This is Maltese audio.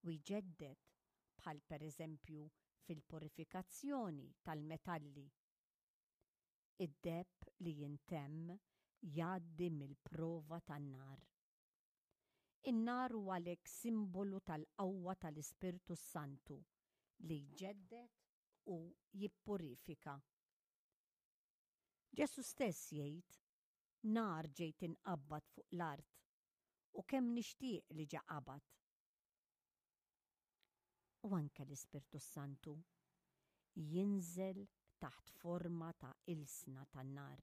u jġedded bħal pereżempju fil-purifikazzjoni tal-metalli. Id-deheb li jintemm jgħaddi mill-prova tan-nar. In-nar hu għalhekk simbolu tal-qawwa tal-Ispirtu s-Santu li jġedded u jippurifika. Ġesù stess jgħid, Nar ġejt inqabbad fuq l-art, u kemm nixtieq li ġa qabad. U anke l-Ispirtu s-Santu jinżel taħt forma ta' ilsna tan-nar.